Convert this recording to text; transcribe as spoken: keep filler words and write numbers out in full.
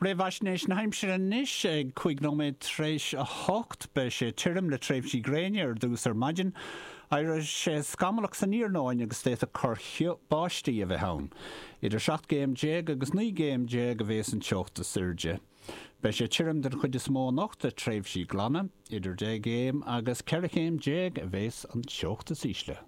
Réamhaisnéis na haimsire anois ag cúig nóiméad tar éis a hocht. Beidh sé tirim le tréimhsí gréine ar dtús ar maidin. Éireoidh sé scamallach san iarnóin agus d'fhéadfadh corrchioth báistí a bheith ann. Idir seacht gcéim déag agus naoi gcéim déag a bhéas an teocht is airde. Beidh sé tirim den chuid is mó anocht le tréimhsí glana. Idir deich gcéim agus ceithre chéim déag a bhéas an teocht is ísle.